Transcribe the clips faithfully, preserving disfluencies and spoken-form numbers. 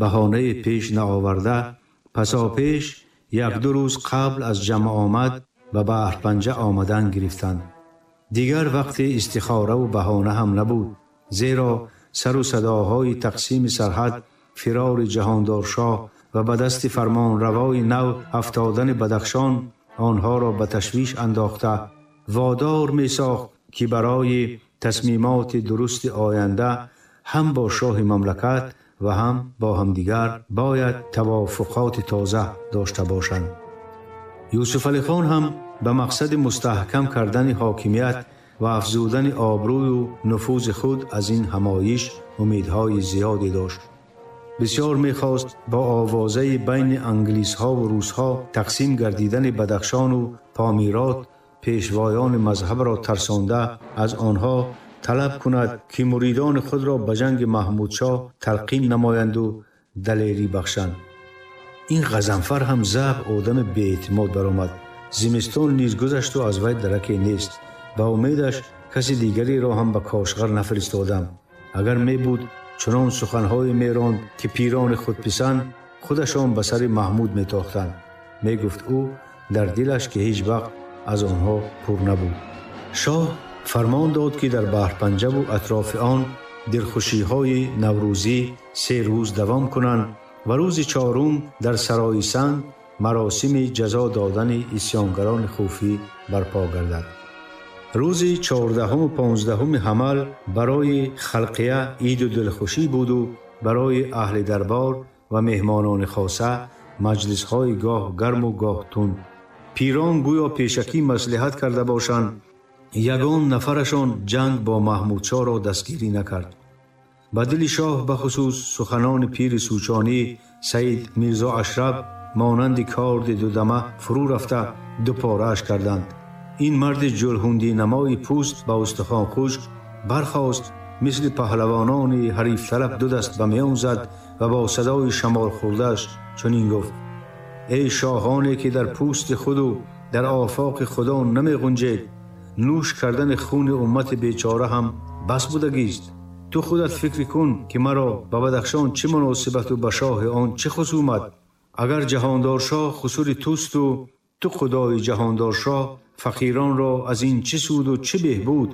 баҳонае пеш наоварда, пасопеш як-ду рӯз қабл аз ҷамъ омад ба Баҳрпанҷа омадан гирифтанд. Дигар вақти истихораву баҳона ҳам набуд, зеро сару садоҳои тақсими сарҳад, фирори ҷаҳондоршоҳ ва ба дасти фармонравои нав афтодани Бадахшон онҳоро ба ташвиш андохта водор месохт, ки барои тасмимоти дурусти оянда ҳам бо шоҳи мамлакат ва ҳам бо ҳамдигар бояд тавофуқоти тоза дошта бошанд. Юсуфалихон ҳам ба мақсади мустаҳкам кардани ҳокимият ва афзудани обрӯю нуфузи худ аз ин ҳамоиш умедҳои зиёде дошт. Бисёр мехост бо овозаи байни англисҳову русҳо тақсим гардидани Бадахшону Помирот пешвоёни мазҳабро тарсонда аз онҳо талаб кунад, ки муридони худро ба ҷанги Маҳмудшоҳ талқин намоянду далерӣ бахшанд. Ин Ғазанфар ҳам заб одами беэътимод баромад. Зимистон низ гузашту аз вай дараке нест. Ба умедаш каси дигареро ҳам ба Кошғар нафиристодам. Агар мебуд, чунон суханҳое меронд, ки пирони худписанд худашон ба сари Маҳмуд метохтанд. Мегуфт ӯ дар дилаш, ки ҳеҷ вақт аз онҳо пур набуд. Шоҳ фармон дод, ки дар Баҳрпанҷаву атрофи он дилхушиҳои наврӯзӣ се рӯз давом кунанд ва рӯзи чорум дар сарои санг маросими ҷазо додани исьёнгарони хуфӣ барпо гардад. Рӯзи чордаҳуму понздаҳуми ҳамал барои халқия иду дилхушӣ буду барои аҳли дарбор ва меҳмонони хоса маҷлисҳои гоҳ гарму гоҳ тунд. Пирон гӯё пешакӣ маслиҳат карда бошанд, ягон нафарашон ҷанг бо Маҳмудшоҳро дастгирӣ накард. Ба дили шоҳ бахусус суханони пири сӯчонӣ Саид Мирзо Ашраб монанди корди дудама фурӯ рафта дупорааш карданд. Ин марди ҷулҳундинамои пӯст ба устухон хушк бархост, мисли паҳлавонони ҳарифталаб ду даст ба миён зад ва бо садои шамолхӯрдааш чунин гуфт: эй шоҳоне, ки дар пӯсти худу дар офоқи худо намеғунҷед, нӯш кардани хуни уммати бечора ҳам бас будагист. Ту худат фикр кун, ки маро ба Бадахшон чӣ муносибату ба шоҳи он чӣ хусумат. Агар ҷаҳондоршоҳ хусури тусту ту худои ҷаҳондоршоҳ, фақиронро аз ин чӣ суду чӣ беҳбуд?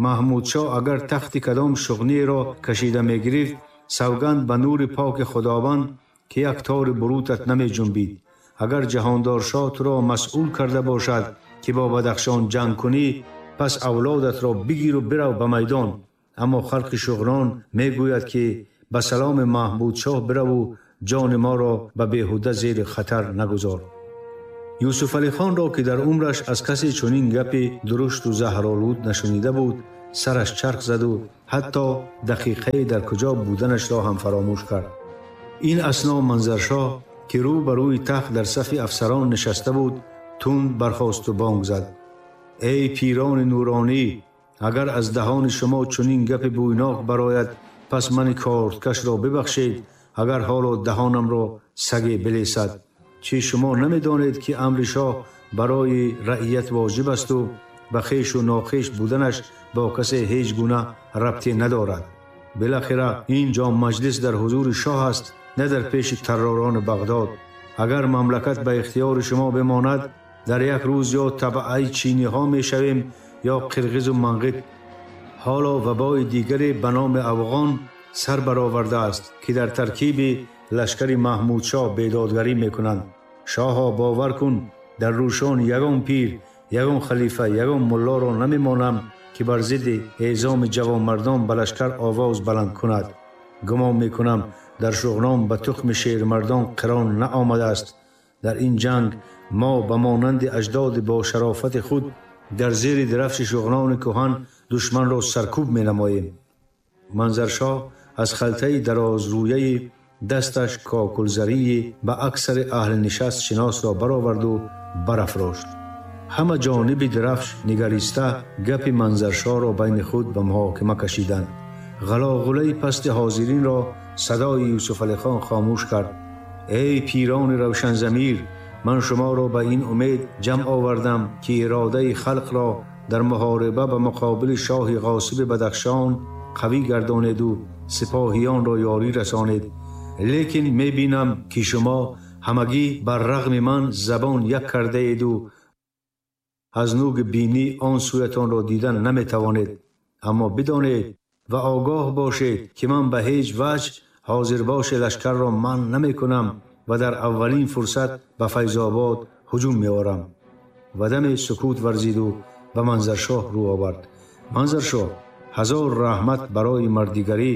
Маҳмудшоҳ агар тахти кадом шуғниеро кашида мегирифт, савганд ба нури поки Худованд, ки як тори бурутат намеҷунбид. Агар ҷаҳондоршоҳ туро масъул карда бошад, ки бо Бадахшон ҷанг кунӣ, пас авлодатро бигиру бирав ба майдон. Аммо халқи шуғнон мегӯяд, ки ба саломи Маҳмудшоҳ бираву ҷони моро ба беҳуда зери хатар нагузор. Юсуфалихонро, ки дар умраш аз касе чунин гапи дурушту заҳролуд нашунида буд, сараш чарх заду ҳатто дақиқае дар куҷо буданашро ҳам фаромӯш кард. Ин асно Манзаршоҳ, ки рӯ ба рӯи тахт дар сафи афсарон нишаста буд, тунд бархосту бонг зад: эй пирони нуронӣ, агар аз даҳони шумо чунин гапи бӯйнок барояд, пас мани корткашро бибахшед, агар ҳоло даҳонамро саге билесад. Чӣ шумо намедонед, ки амри шоҳ барои раият воҷиб асту ба хешу нохеш буданаш бо касе ҳеҷ гуна рабте надорад? Билохира ин ҷо маҷлис дар ҳузури шоҳ аст, на дар пеши тарророни Бағдод. Агар мамлакат ба ихтиёри шумо бимонад, дар як рӯз ё табаъаи чиниҳо мешавем ё қирғизу манғит. Ҳоло вабои дигаре ба номи афғон сар баровардааст, ки дар таркиби лашкари Маҳмудшоҳ бедодгарӣ мекунанд. Шоҳо, бовар кун, дар рӯшон ягон пир, ягон халифа, ягон муллоро намемонам, ки бар зидди эъзоми ҷавонмардон ба лашкар овоз баланд кунад. Гумон мекунам, дар шуғнон ба тухми шермардон қирон наомадааст. Дар ин ҷанг мо ба монанди аҷдоди бо шарофати худ дар зери дарафши шуғнони кӯҳан душманро саркӯб менамоем. Манзаршоҳ аз халтаи дарозрӯяи дасташ кокулзарии ба аксари аҳли нишаст шиносро бароварду барафрошт. Ҳама ҷониби дарафш нигариста гапи Манзаршоҳро байни худ ба муҳокима кашиданд. Ғалоғулаи пасти ҳозиринро садои Юсуфалихон хомӯш кард: эй пирони равшанзамир, ман шуморо ба ин умед ҷамъ овардам, ки иродаи халқро дар муҳориба ба муқобили шоҳи ғосиби Бадахшон қавӣ гардонеду сипоҳиёнро ёрӣ расонед. Лекин мебинам ки шумо ҳамагӣ бар рағми ман забон як кардаеду аз нуги бинӣ он сӯятонро дидан наметавонед. Аммо бидонед ва огоҳ бошед, ки ман ба ҳеҷ ваҷҳ ҳозирбоши лашкарро манъ намекунам ва дар аввалин фурсат ба Файзобод ҳуҷум меорам. Ва даме сукут варзиду ба Манзаршоҳ рӯ овард. Манзаршоҳ, ҳазор раҳмат барои мардигарӣ,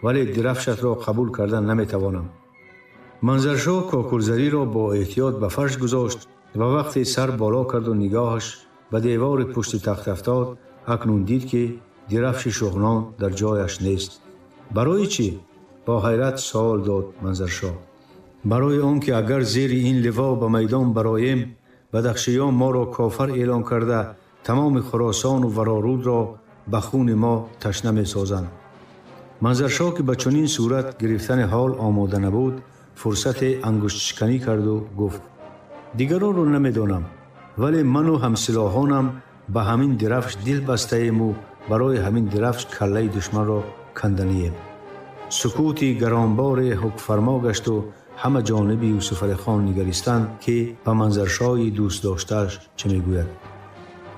вале дирафшатро қабул кардан наметавонам. Манзаршоҳ кокулзариро бо эҳтиёт ба фарш гузошт ва вақте сар боло карду нигоҳаш ба девори пушти тахт афтод, акнун дид, ки дирафши шуғнон дар ҷояш нест. Барои чӣ? Бо ҳайрат савол дод Манзаршоҳ. Барои он ки агар зери ин ливо ба майдон бароем, бадахшиён моро кофар эълон карда тамоми Хуросону Варорудро ба хуни мо ташна месозанд. Манзаршоҳ, ки ба чунин сурат гирифтани ҳол омода набуд, фурсате ангуштшиканӣ карду гуфт: дигаронро намедонам, вале ману ҳамсилоҳонам ба ҳамин дирафш дил бастаему барои ҳамин дирафш каллаи душманро канданием. Сукути гаронборе ҳукмфармо гашту ҳама ҷониби Юсуфалихон нигаристанд, ки ба Манзаршоҳи дӯстдоштааш чӣ мегӯяд.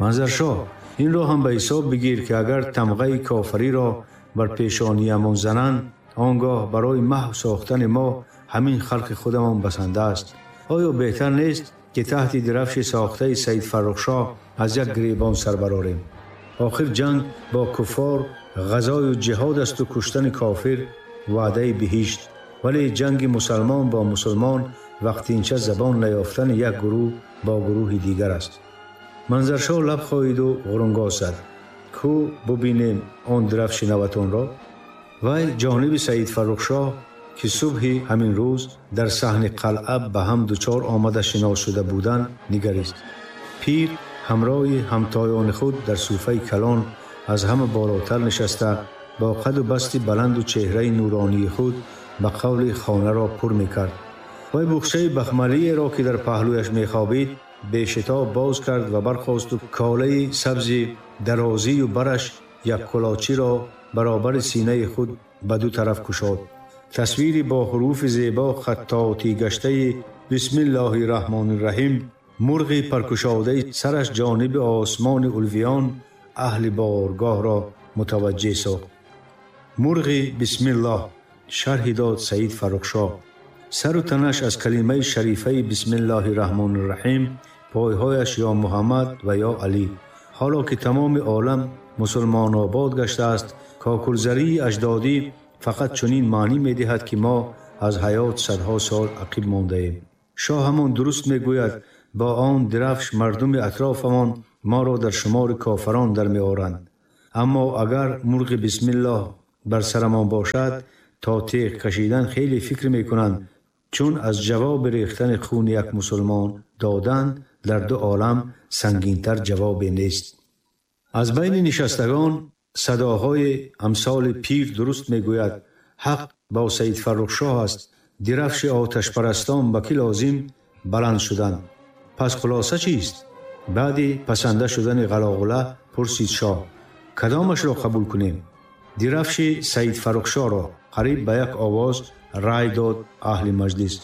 Манзаршоҳ, инро ҳам ба ҳисоб бигир, ки агар тамғаи кофариро бар пешониямон зананд, он гоҳ барои маҳв сохтани мо ҳамин халқи худамон басанда аст. Оё беҳтар нест, ки таҳти дирафши сохтаи Саид Фаррухшоҳ аз як гиребон сар барорем? Охир ҷанг бо куффор ғазою ҷиҳод асту куштани кофир ваъдаи биҳишт, вале ҷанги мусалмон бо мусулмон вақтинча забон наёфтани як гурӯҳ бо гурӯҳи дигар аст. Манзаршоҳ лаб хоҳиду ғурунгоз зад: ку бубинем он дирафши наватонро. Вай ҷониби Саид Фаррухшоҳ, ки субҳи ҳамин рӯз дар саҳни қалъа ба ҳам дучор омада шинос шуда буданд, нигарист. Пир ҳамроҳи ҳамтоёни худ дар суфаи калон аз ҳама болотар нишаста, бо қаду басти баланду чеҳраи нуронии худ ба қавли хонаро пур мекард. Вай буғчаи бахмалиеро, ки дар паҳлӯяш мехобид, бешитоб боз кард ва бархосту колаи сабзи дарозию бараш як кулочиро баробари синаи худ ба ду тараф кушод. Тасвири бо ҳуруфи зебо хаттотӣ гаштаи бисмиллоҳи раҳмони раҳим, мурғи паркушодаи сараш ҷониби осмони улвиён аҳли боргоҳро мутаваҷҷеҳ сохт. Мурғи бисмиллоҳ, шарҳи дод Саид Фаррухшоҳ. Сару танаш аз калимаи шарифаи бисмиллоҳи раҳмони раҳим, пойҳояш ё Муҳаммад ва ё Алӣ. Ҳоло ки тамоми олам мусулмонобод гаштааст, кокулзарии аҷдодӣ фақат чунин маънӣ медиҳад, ки мо аз ҳаёт садҳо сол ақиб мондаем. Шоҳ ҳамон дуруст мегӯяд, бо он дирафш мардуми атрофамон моро дар шумори кофарон дар меоранд. Аммо агар мурғи бисмиллоҳ бар сарамон бошад, то теғ кашидан хеле фикр мекунанд, чун аз ҷавоби рехтани хуни як мусулмон додан дар ду олам сангинтар ҷавобе нест. Аз байни нишастагон садоҳои амсоли пир дуруст мегӯяд, ҳақ бо Саид Фаррухшоҳ аст, дирафши оташпарастон ба кӣ лозим, баланд шуданд. Пас хулоса чист? Баъди пасанда шудани ғалоғула пурсид шоҳ: кадомашро қабул кунем? Дирафши Саид Фаррухшоҳро, қариб ба як овоз рай дод аҳли маҷлис.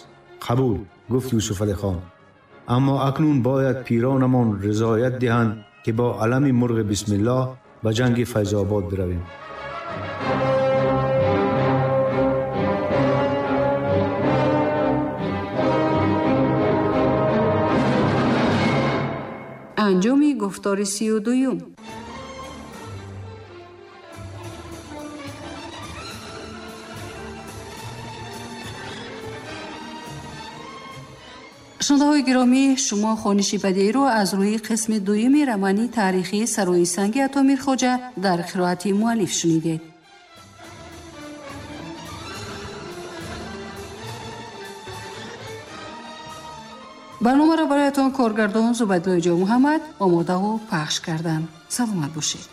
Қабул, гуфт Юсуфалихон. Аммо акнун бояд пиронамон ризоят диҳанд, ки бо алами мурғи бисмиллоҳ ба ҷанги Файзобод биравем. Анҷоми гуфтори сию дуюм. Шунавандаҳои гиромӣ, шумо хониши бадеиро аз рӯи қисми дуюми романи таърихии Сарои санги Ато Мирхоҷа дар қироати муаллиф шунидед. Барномаро бароятон коргардон Зубайдуллои Ҷомуҳаммад омодаву пахш карданд. Саломат бошед.